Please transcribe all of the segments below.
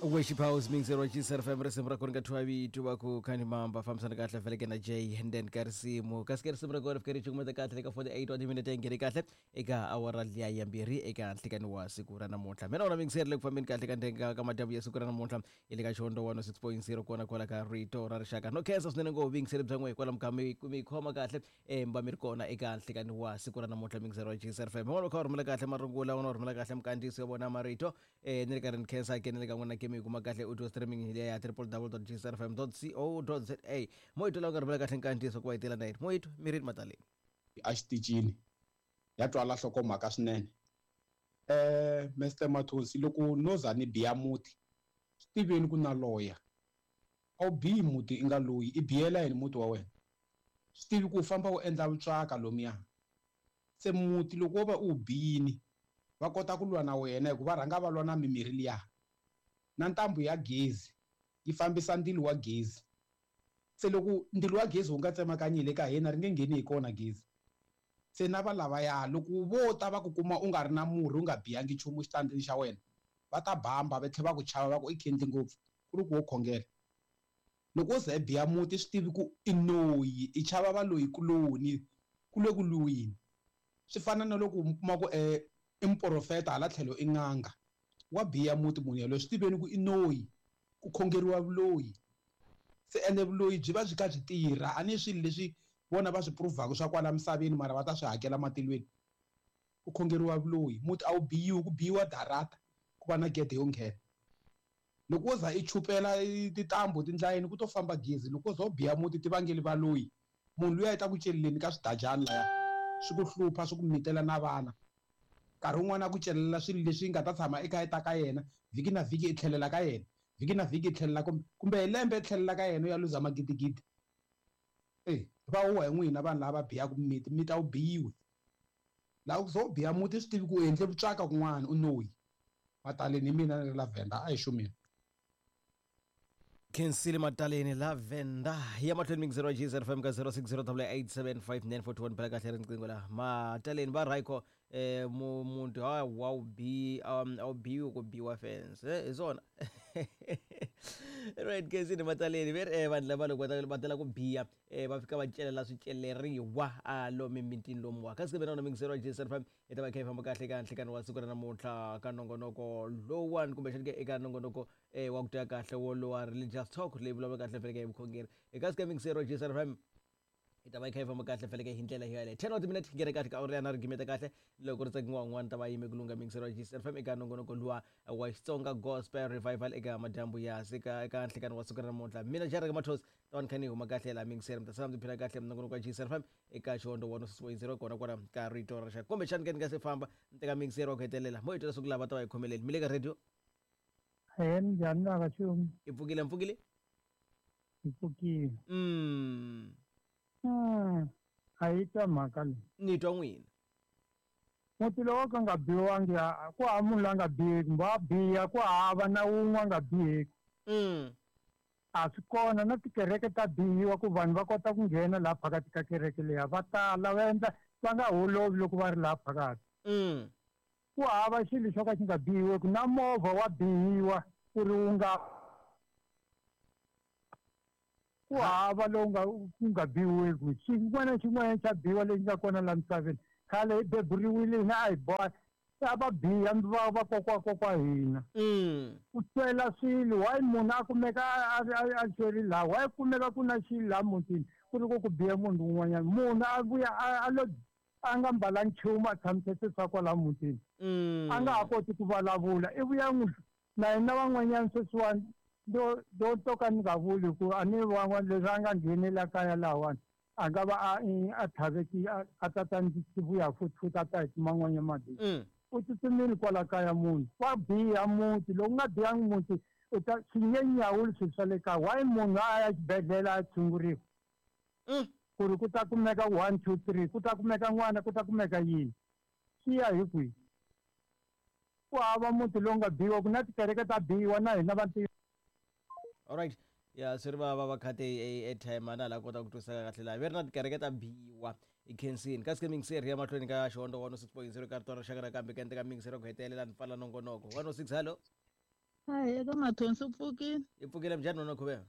Worship House mixer wa Chisar FM, risimu ra kona ka Thwavitu va ku khani mamba fambisana kahle feleke na Jay and then ka risimu kasi ke risimu ra kona fike ri cukumeta kahle le ka 48 wa timinete nghene kahle eka awara liya ya mbirhi eka nhlikani wa siku ra namuntlha. Mina wona mixer le ku fambeni kahle ka ndenga ka madyambu ya siku ra namuntlha hi le ka Xihondzo 106.0 kona kwala ka Rito ra Rixaka. No khensa swinene ngopfu vuyingiseri bya n'we hikwalaho ka mi mi khoma kahle mi va mi ri kona eka nhlikani wa siku ra namuntlha mixer wa Chisar FM. Van'wana va kha va rhumela kahle marungula, van'wana va rhumela kahle minkandziyiso ya vona marito. Ni ri karhi ni khensa ke ni le ka n'wina ke mi yi kuma kahle audio streaming hi liya ya www.gsrfm.co.za. Moyito lawa nga rhumela kahle nkandziyiso ku va yi tela na yini moyito mi ri mataleni. Exitichini ya twala nhlokomhaka swinene. Mr Mathonsi, loko no za ni biya muti swi tiveni ku na loya. A wu biyi muti i nga loyi, i biyela yini muti wa wena? Swi tivi ku u famba u endla vutswaka lomuya. Se muti loko wo va u wu biyini va kota ku lwa na wena hikuva rhanga va lwa na mimirhi liya. Na ntambu ya gezi yi fambisa ndzilo wa gezi. Se loko ndzilo wa gezi wu nga tsemakanyi hi le ka hina ri nge ngheni hi kona gezi. Se na va lavaya loko vo ta va ku kuma u nga ri na murhi u nga biyangi nchumu xitandini xa wena va ta bamba va tlhela va ku chava va ku i khendli ngopfu ku ri ku wo khongela. Loko wo za i biya muti swi tivi ku i noyi i chava valoyi kuloni ku le ku lwiweni. Swi fana na loko mi kuma ku i muprofeta hala tlhelo i n'anga. Wa biya muti munhu yaloye swi tiveni ku i noyi ku khongeriwa vuloyi. Se ene vuloyi byi va byi kha byi tirha a ni swilo leswi vona va swi prove-aka swa kwala misaveni mara va ta swi hakela matilweni. Ku khongeriwa vuloyi muti a wu biyiwi ku biyiwa darata ku va na gede yo nghena. Loko wo za i chupela tintambu tindlayeni ku to famba gezi. Loko wo za u biya muti ti vangeli valoyi. Munhu luya i ta ku celeleni ka swidajani laya swi ku hlupha swi ku mitela na vana. Nkarhi wun'wani a ku celela swilo leswi nga ta tshama i kha i ta ka yena vhiki na vhiki i tlhelela ka yena vhiki na vhiki i tlhelela kumbe hi lembe i tlhelela ka yena u ya luza magidigidi. E va huwa hi n'wina vanhu lava va biyaka miti, miti a wu biyiwi. Laha ku za u biya muti swi tivi ku u endle vutswaka kun'wana u noyi. Mataleni hi mina ni ri la Venda a hi xumile. Khensile Mataleni la Venda ya mahlweni mingizelo wa GZFM FM ka 0608875941 bela kahle riqingho la Mataleni va Rayco muntu ha wa wu bi a wu biwi ku biwa fence hi swona. Right, Khensile Mataleni ve ri vanhu lava loko va tala ku biya va fika va celela swiceleriwa a lomu emitini lomuwa. Kasi ke mina na mingizelo wa GZFM FM hi ta va kha hi famba kahle eka nhlikani wa siku ra namuntlha ka nongonoko lowuwani kumbexani ke eka nongonoko wa ku twa kahle wolowa religious talk leyi vulavula kahle feleke hi vukhongeri. Eka sika mixero Gsr FM hi ta va yi kha yi famba kahle feleke hi ndlela yaleyo. 10 wa timinete nghene kahle ka awara ya na ri gimeta kahle loko ri tsakiwa un'wana ta va yime ku lungha mixero wa Gsr FM eka nongonoko luwa wa Xitsonga Gospel Revival eka madyambu ya sika eka nhlikani wa siku ra namuntlha. Mina Jarek Mathos ta va ni kha ni huma kahle laha mixero mi ta sala mi tiphina kahle nongonoko wa Gsr FM eka Xihondzo 106.0 kona kwala ka Rito ra Rixaka. Kumbexani ke ni nga se famba ni teka mixero wa ku hetelela mo hi twa leswaku lava ta va hi khomeleni mi le ka radio. Ahee, minjhani bava Xumi? Hi pfukile, mpfukile? Hi pfukile. A yi twa mhaka leyi. Ni twa n'wina. Muti lowu ka nga biwangi ku hava munhu la nga biheki, wa biha ku hava na wun'we a nga biheki. A swi kona na tikereke ta bihiwa ku vanhu va kota ku nghena laha phakathi ka kereke leya, va tala va endla va nga holovi loko va ri laha phakathi. Ku hava xilo xo ka xi nga bihiweki, na movha wa bihiwa ku ri wu nga ku hava lowu nga ku nga bihiweki. Xin'wana na xin'wana xa bihiwa lexi nga kona laha misaveni. Khale hi beburiwile hina a hi boha a va biha va vakokwa kokwa hina. Ku twela swilo, why munhu a kumeka a xeri laha, why kumeka ku na xilo laha mutini ku ri ku ku biha munhu un'wanyana. Munhu a vuya a lo a nga mbalangi nchumu a tshamiseke swa kwala mutini. A nga ha koti ku vulavula i vuya n'wi na hina van'wanyana sweswiwani do do to ka ni nga vuli ku a ni van'wana leswi a nga nghenela kaya lahawani a nga va a a tlhaveki a ta ta ndzi vuya futhi futhi a ta hi kuma n'wanya madi. U tsutsumile kwala kaya munhu wa biha muti loko u nga bihangi muti u ta swi nge nyawuli swilo swa le kaya. Why munhu a ya xibedhlele a tshunguriwa? Ku ri ku ta kumeka 1 2 3 ku ta kumeka n'wana ku ta kumeka yini swi ya hi kwihi? Ku hava muti lowu nga biwa ku na tikereke ta biwa na hina vantima. Alright, ya swi ri va va va khate airtime a na la kota ku twisisa kahle laha ve ri na tikereke ta biwa i khensini. Kasi ke mingiseri ya mahlweni ka Xihondzo 106.0 ka rito ra rixaka nakambe ka endleka mingiseri ku hetelela ni pfala nongonoko 106. Hello. Hayi, eka Mathonsi u pfukile. Hi pfukile, minjhani wena Khuvela?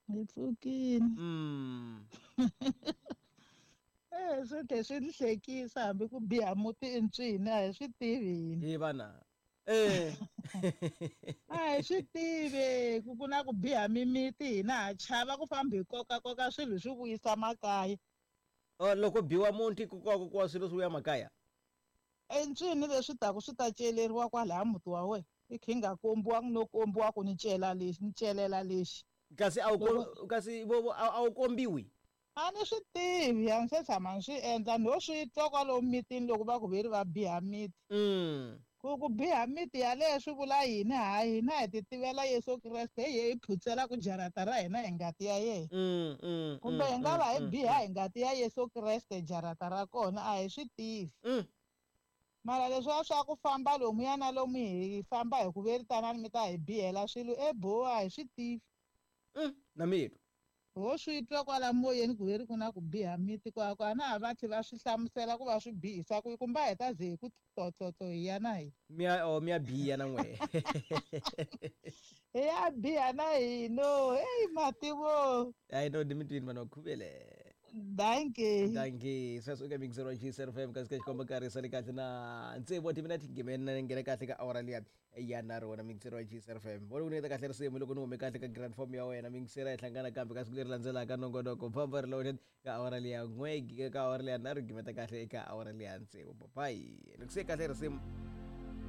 Hi pfukile. Swi tlhe swi ni hlekisa hambi ku biha muti i ntswini a hi swi tivi hina. Hi vana. A hi swi tivi ku ku na ku biha mimiti, hina ha chava ku famba hi kokakoka swilo swi vuyisa makaya. Oh, loko biwa muti ku kokakokiwa swilo swi vuya makaya? Entswini leswi taku swi ta celeriwa kwalaya muti wa wena. I kha yi nga kombiwangi no kombiwa ku ni cela lexi, ni celela lexi. Kasi a wu kasi vo a wu kombiwi? A ni swi tivi, a ni se tshama ni swi endla, no swi twa kwalomu mitini loko va ku ve ri va biha miti. Ku biha miti yaleyo swi vula yini? Hayi, hina hi ti tivela Yesu Kreste, hi ye hi phutsela ku jarata ra hina hi ngati ya yena. Kumbe hi nga va hi biha hi ngati ya Yesu Kreste jarata ra kona, a hi swi tivi. Mara leswiya swa ku famba lomuya na lomu hi famba hi ku ve ri tanani mi ta hi bihela swilo eboha, a hi swi tivi. Na mitwa. Ho swi twa kwala moyeni ku ve ri ku na ku biha miti kwako, a na ha va tlhe va swi hlamusela ku va swi bihisa ku kumbe a hi ta ze hi ku tlotlotlo hi ya na hina. Miya, oh, miya biha na n'we. Hi ya biha na hino. Hey, mativo. Hayi no, ni mi twini vanhu va Khuvele. Dankie. Dankie. Sweswo eka mixer wa GCR FM kasi ka xikomba nkarhi sale kahle na tsevu wa timinete nghemeni nghena kahle ka awara liya ya nharhu wona mixer wa GCR FM. Vona ku nyiketa kahle risimu loko ni hume kahle ka grand form ya wena mixer hi hlangana kambe ka siku leri landzelaka nongonoko famba ri loaded ka awara liya n'we ka awara liya nharhu gimeta kahle eka awara liya tsevu. Bye bye. Loko se kahle risimu.